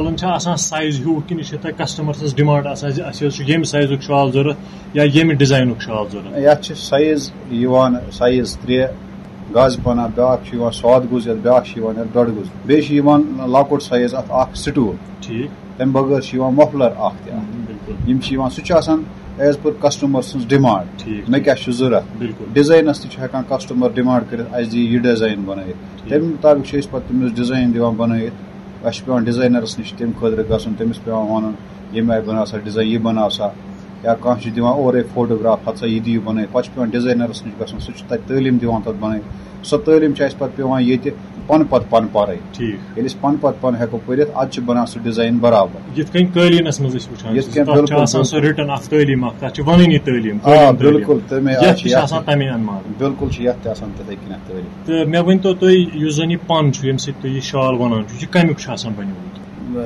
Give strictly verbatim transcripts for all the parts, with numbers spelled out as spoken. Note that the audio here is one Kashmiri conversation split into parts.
شالن چھا آسان سایز ہیوٗ کِنہٕ یہِ چھِ تۄہہِ کسٹمر سٕنٛز ڈیمانڈ آسان زِ اَسہِ حظ چھُ ییٚمہِ سایزُک شال ضوٚرتھ یا ییٚمہِ ڈیزاینُک شال ضوٚرتھ؟ یَتھ چھِ سایز یِوان، سایز ترٛےٚ، گازٕ پنہ، بیٛاکھ چھُ یِوان ساد گُز یَتھ، بیٛاکھ چھُ یِوان یَتھ ڈۄڈ گُز، بیٚیہِ چھُ یِوان لۄکُٹ سایز اَتھ اَکھ سٹوٗل۔ ٹھیٖک۔ تَمہِ بغٲر چھُ یِوان مفلر اَکھ تہِ اَتھ۔ بِلکُل۔ یِم چھِ یِوان، سُہ چھُ آسان as per customer سٕنٛز ڈیمانڈ، ٹھیٖک۔ مےٚ کیٛاہ چھُ ضوٚرتھ۔ بِلکُل۔ ڈیزاینَس تہِ چھُ ہٮ۪کان کسٹمر ڈیمانڈ کٔرِتھ، اَسہِ دِ یہِ ڈیزاین بَنٲیِتھ۔ ٹھیٖک۔ تَمہِ مُطابِق چھِ أسۍ پَتہٕ تٔمِس ڈیزاین دِوان بَنٲیِتھ۔ اَسہِ چھُ پٮ۪وان ڈیزاینَرَس نِش تَمہِ خٲطرٕ گژھُن، تٔمِس پٮ۪وان وَنُن، ییٚمہِ آیہِ بَناو سا ڈیزاین، یہِ بَناو سا۔ یا کانٛہہ چھُ دِوان اورَے فوٹوگراف، ہَتہٕ سا یہِ دِیِو بَنٲیِتھ۔ پَتہٕ چھُ پٮ۪وان ڈیزاینَرَس نِش گژھُن، سُہ چھُ تَتہِ تعلیٖم دِوان تَتھ بَنٲیِتھ۔ سۄ تعلیٖم چھِ اَسہِ پَتہٕ پٮ۪وان ییٚتہِ پَنہٕ پَتہٕ پَنہٕ پَرٕنۍ۔ ٹھیٖک۔ ییٚلہِ أسۍ پَنہٕ پَتہٕ پَنہٕ ہٮ۪کو پٔرِتھ، اَدٕ چھِ بَنان سُہ ڈیزاین برابر۔ یِتھ کٔنۍ قٲلیٖنَس منٛز أسۍ وٕچھان یِتھ چھِ، کٔنۍ تَتھ چھُ بِلکُل، آسان سۄ بِلکُل۔ رِٹن اَکھ تعلیٖم اَکھ، تَتھ چھِ وَنٲنی تعلیٖم، آ، قٲلیٖن تعلیٖم۔ بِلکُل، تَمے آیہِ یَتھ چھِ تہِ چھِ یَتھ آسان تَمے اَنمار۔ بِلکُل چھِ یَتھ تہِ آسان تِتھَے کٔنٮ۪تھ تعلیٖم۔ تہٕ مےٚ ؤنۍ تو تُہۍ، یُس زَن یہِ پَن چھُ، ییٚمہِ سۭتۍ تُہۍ یہِ شال وَنان چھُ، یہِ کَمیُک چھُ آسان بَنیومُت؟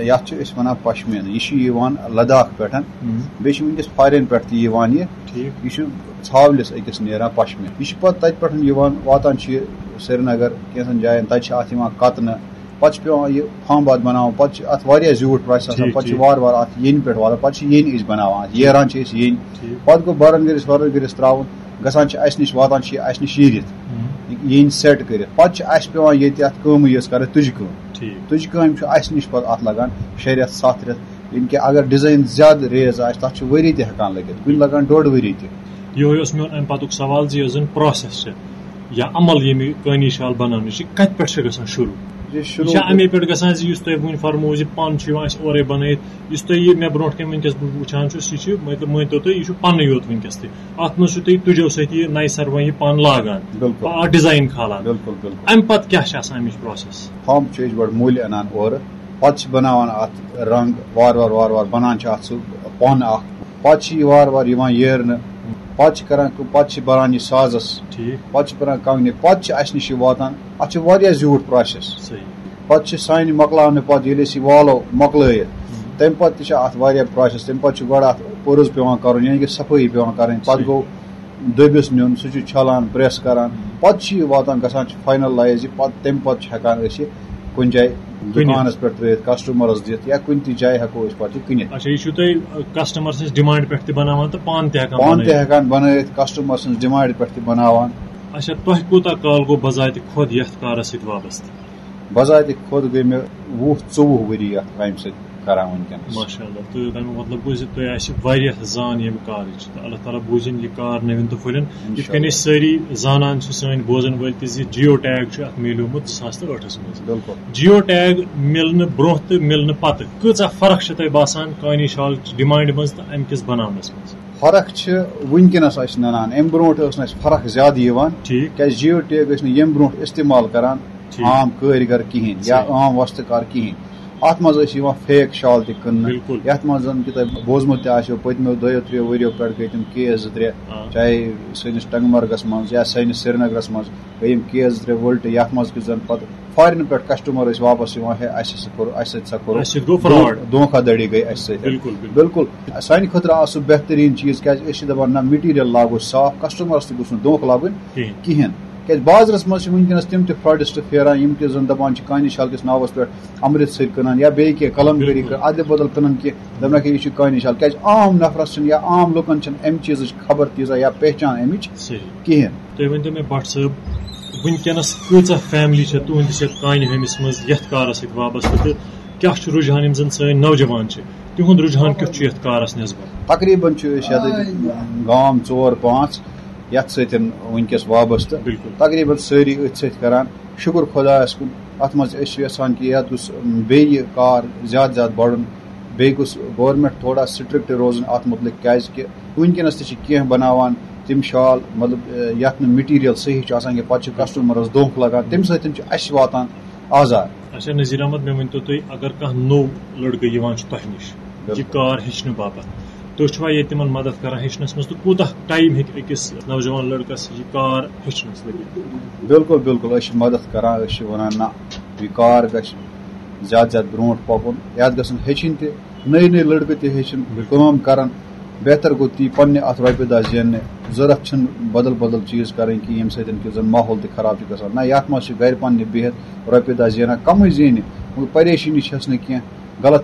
یَتھ چھِ أسۍ وَنان پشمیٖنہٕ۔ یہِ چھُ یِوان لداخ پٮ۪ٹھ۔ ہُم۔ بیٚیہِ چھِ وٕنکیٚس فارِن پٮ۪ٹھ تہِ یِوان یہِ۔ ٹھیٖک۔ یہِ چھُ ژھاولِس أکِس نیران پشمیٖنہٕ۔ یہِ چھُ پَتہٕ تَتہِ پٮ۪ٹھ یِوان، واتان چھُ یہِ سرینگر، کینٛژَن جایَن، تَتہِ چھِ اَتھ یِوان کَتنہٕ۔ پَتہٕ چھُ پٮ۪وان یہِ فامباد بَناوُن۔ پَتہٕ چھِ اَتھ واریاہ زیوٗٹھ پرٛاسیس آسان۔ ٹھیٖک، پَتہٕ چھِ ٹھیٖک۔ وارٕ وارٕ اَتھ ییٚنہِ پٮ۪ٹھ واتان۔ پَتہٕ چھِ ییٚنہِ أسۍ بَناوان اَتھ۔ ییران چھِ أسۍ ییٚنہِ۔ ٹھیٖک۔ پَتہٕ گوٚو بَرَن گٔرِس وَرَن گٔرِس ترٛاوُن۔ گژھان چھِ اَسہِ نِش، واتان چھِ یہِ اَسہِ نِش ییٖرِتھ۔ ہُم۔ ییٚنہِ سیٹ کٔرِتھ۔ پَتہٕ چھِ اَسہِ پٮ۪وان ییٚتہِ اَتھ کٲمٕے یٲژ کَرٕنۍ، تُجہِ کٲم۔ ٹھیٖک۔ تُجہِ کامہِ چھُ اَسہِ نِش پَتہٕ اَتھ لَگان شےٚ رٮ۪تھ، سَتھ رٮ۪تھ۔ ییٚمہِ کہِ اگر ڈیزاین زیادٕ ریز آسہِ، تَتھ چھُ ؤری تہِ ہٮ۪کان لٔگِتھ، کُنہِ لَگان ڈۄڈ ؤری تہِ۔ یِہوٚے اوس میون اَمہِ پَتُک سوال زِ یۄس زَن پرٛاسیس چھِ یا عمل ییٚمہِ کٲنی شال بَناونٕچ چھِ، کَتہِ پٮ۪ٹھ چھِ گژھان شروٗع؟ یہِ یہِ شروٗع چھا اَمے پٮ۪ٹھ گژھان زِ یُس تۄہہِ وٕنۍ فرموو زِ پَن چھُ یِوان اَسہِ اورَے بَنٲیِتھ، یُس تۄہہِ یہِ مےٚ برونٛٹھ کَنہِ وٕنکیٚس بہٕ وٕچھان چھُس، یہِ چھُ، مطلب، مٲنۍ تو تُہۍ، یہِ چھُ پَنٕے یوت وٕنکیٚس تہِ۔ اَتھ منٛز چھُ تُہۍ تُجو سۭتۍ یہِ نَیہِ سَرٕ وۄنۍ یہِ پَن لاگان، بِلکُل۔ اَتھ ڈیزاین کھالان۔ بِلکُل، بِلکُل۔ اَمہِ پَتہٕ کیٛاہ چھِ آسان اَمِچ پرٛاسیس؟ ہُم چھِ أسۍ گۄڈٕ مٔلۍ اَنان اورٕ، پَتہٕ چھِ بَناوان اَتھ رنٛگ وارٕ وارٕ، وارٕ وارٕ بَنان چھِ اَتھ سُہ پَن اَکھ۔ پَتہٕ چھِ یہِ وارٕ وارٕ یِوان ییرنہٕ۔ پَتہٕ چھِ کَران کٲم، پَتہٕ چھِ بَران یہِ سازَس۔ ٹھیٖک۔ پَتہٕ چھِ بَران کانٛگنہِ۔ پَتہٕ چھِ اَسہِ نِش یہِ واتان۔ اَتھ چھِ واریاہ زیوٗٹھ پرٛاسیس۔ صحیح۔ پَتہٕ چھِ سانہِ مۄکلاونہٕ پَتہٕ، ییٚلہِ أسۍ یہِ والو مۄکلٲیِتھ، ہُم۔ تَمہِ پَتہٕ تہِ چھِ اَتھ واریاہ پرٛاسیس۔ تَمہِ پَتہٕ چھُ گۄڈٕ اَتھ پٔرُز پٮ۪وان کَرُن، یعنی کہِ صفٲیی پٮ۪وان کَرٕنۍ۔ پَتہٕ صحیح۔ گوٚو دٔبِس نیُن، سُہ چھُ چھَلان، پرٛٮ۪س کَران۔ پَتہٕ چھِ یہِ واتان، گژھان چھُ فاینلایز یہِ۔ پَتہٕ، تَمہِ پَتہٕ چھِ ہٮ۪کان أسۍ یہِ کُنہِ جایہِ دُکانَس پٮ۪ٹھ ترٛٲیِتھ، کسٹمرَس دِتھ، یا کُنہِ تہِ جایہِ ہٮ۪کو أسۍ پَتہٕ یہِ کٕنِتھ۔ اچھا، یہِ چھُو تُہۍ، آ، کسٹمر سٕنٛز ڈیمانڈ پٮ۪ٹھ تہِ بَناوان تہٕ پانہٕ تہِ ہٮ۪کان پانہٕ تہِ بَنٲیِتھ؟ ہٮ۪کان بَنٲیِتھ، کسٹمر سٕنٛز ڈیمانڈ پٮ۪ٹھ تہِ بَناوان۔ اچھا، تۄہہِ کوٗتاہ کال گوٚو بذاتِ خۄد یَتھ کارَس سۭتۍ وابستہٕ؟ بذاتِ خۄد گٔے مےٚ وُہ ژوٚوُہ ؤری یَتھ کامہِ سۭتۍ کران وٕنکیٚنَس۔ ماشاء اللہ، تہٕ تَمیُک مطلب گوٚو زِ تُہۍ آسہِ واریاہ زان ییٚمہِ کارٕچ، تہٕ اللہ تعالیٰ بوٗزِن یہِ کار نٔوِن تہٕ پھٔلِن۔ یِتھ کٔنۍ أسۍ سٲری زانان چھِ، سٲنۍ بوزَن وٲلۍ تہِ، زِ جیو ٹیگ چھُ اَتھ میلیومُت زٕ ساس تہٕ ٲٹھَس منٛز۔ بِلکُل۔ جیو ٹیگ مِلنہٕ برونٛہہ تہٕ مِلنہٕ پَتہٕ کۭژاہ فرق چھِ تۄہہِ باسان کٲنی شال ڈیمانڈِ منٛز تہٕ اَمہِ کِس بَناونَس منٛز؟ فرق چھِ وٕنکیٚنَس اَسہِ نَنان، اَمہِ برونٛٹھ ٲس نہٕ اَسہِ فرق زیادٕ یِوان۔ ٹھیٖک۔ کیٛازِ جیو ٹیگ ٲسۍ نہٕ ییٚمہِ برونٛٹھ استعمال کران ٹھیٖک۔ عام کٲرۍ گر کِہیٖنۍ یا صحیح۔ عام وۄستہٕ کار کِہیٖنۍ۔ اَتھ منٛز ٲسۍ یِوان فیک شال تہِ کٕننہٕ۔ بِلکُل۔ یَتھ منٛز زَن کہِ تۄہہِ بوٗزمُت تہِ آسیو، پٔتمیو دۄیو ترٛیو ؤریو پٮ۪ٹھ گٔے تِم کیس زٕ ترٛےٚ، آ۔ چاہے سٲنِس ٹنٛگمرگَس منٛز یا سٲنِس سرینگرَس منٛز گٔے یِم کیس زٕ ترٛےٚ ؤلٹہٕ، یَتھ منٛز کہِ زَن پَتہٕ فارِن پٮ۪ٹھ کسٹمر ٲسۍ واپس یِوان، ہے، اَسہِ ہسا کوٚر، اَسہِ سۭتۍ سا کوٚر اَسہِ سۭتۍ گوٚو فراڈ۔ دھوکہ دھڑی گٔے اَسہِ سۭتۍ۔ بِلکُل، بِلکُل۔ بِلکُل۔ سانہِ خٲطرٕ آو سُہ بہتریٖن چیٖز، کیٛازِ أسۍ چھِ دَپان، نہ، مٹیٖریل لاگو صاف، کسٹمرَس تہِ گوٚژھ نہٕ دھوکہ لَگُن کِہیٖنۍ۔ کِہیٖنۍ۔ کیٛازِ بازرَس منٛز چھِ وٕنکیٚنَس تِم تہِ فراڈسٹ پھیران، یِم کہِ زَن دَپان چھِ کانہِ شال کِس ناوَس پٮ۪ٹھ امرتسر کٕنان یا بیٚیہِ کینٛہہ قلم کٲری بِلکُل۔ کٕنان، اَدلہِ بدل کٕنان کینٛہہ، دَپان کہِ یہِ چھُ کانہِ شال۔ کیٛازِ عام نفرَس چھِنہٕ یا عام لُکَن چھِنہٕ اَمہِ چیٖزٕچ خبر تیٖژاہ یا پہچان اَمِچ صحیح۔ کِہیٖنۍ۔ تُہۍ ؤنۍ تو مےٚ، بٹ صٲب، وٕنکیٚنَس کۭژاہ فیملی چھےٚ تُہٕنٛدِس یَتھ کانہِ ہٲمِس منٛز، یَتھ کارَس سۭتۍ وابستہٕ، تہٕ کیٛاہ چھُ رُجحان، یِم زَن سٲنۍ نوجوان چھِ، تِہُنٛد رُجحان کیُتھ چھُ یَتھ کارَس نٮ۪سبت؟ تقریٖباً چھُ أسۍ یَتھ گام ژور پانٛژھ یَتھ سۭتۍ وٕنکیٚس وابستہٕ۔ بِلکُل۔ تقریٖباً سٲری أتھۍ سۭتۍ کران۔ شُکُر خۄدایَس کُن، اَتھ منٛز أسۍ چھِ یَژھان کہِ یَتھ گوٚژھ بیٚیہِ کار زیادٕ زیادٕ بَڑُن، بیٚیہِ گوٚژھ گورمٮ۪نٛٹ تھوڑا سٹرکٹ روزُن اَتھ مُتعلِق، کیٛازِ کہِ وٕنکیٚنَس تہِ چھِ کینٛہہ بَناوان تِم شال، مطلب، یَتھ نہٕ مٹیٖریل صحیح چھُ آسان کینٛہہ، پَتہٕ چھُ کسٹمرَس دھوکہٕ لَگان، تَمہِ سۭتۍ چھُ اَسہِ واتان آزار۔ اچھا نذیر احمد، مےٚ ؤنۍ تو تُہۍ، اگر کانٛہہ نوٚو لڑکہٕ یِوان چھُ تۄہہِ نِش یہِ بِلکُل۔ کار ہیٚچھنہٕ باپتھ، تُہۍ چھِوا ییٚتہِ تِمن مدد کران ہیٚچھنس منٛز، تہٕ کوٗتاہ ٹایم ہیٚکہِ أکِس نوجوان لڑکس یہِ کار ہیٚچھنس لٔگِتھ؟ بِلکُل، بِلکُل، أسۍ چھِ مدد کران، أسۍ چھِ ونان، نہ، یہِ کار گژھِ زیادٕ زیادٕ برونٛٹھ پکُن، یتھ گژھن ہیٚچھِنۍ تہِ نٔے نٔے لڑکہٕ تہِ ہیٚچھِنۍ، بِلکُل۔ کٲم کرن، بہتر گوٚو تی پننہِ اتھ رۄپیہِ دہ زیننہِ۔ ضروٗرت چھِنہٕ بدل بدل چیٖز کرٕنۍ کینٛہہ، ییٚمہِ سۭتۍ کہِ زن ماحول تہِ خراب چھُ گژھان۔ نہ، یتھ منٛز چھِ گرِ پننہِ بِہِتھ رۄپیہِ دہ زینان، کمٕے زینہِ، مگر پریشٲنی چھس نہٕ کینٛہہ۔ غلط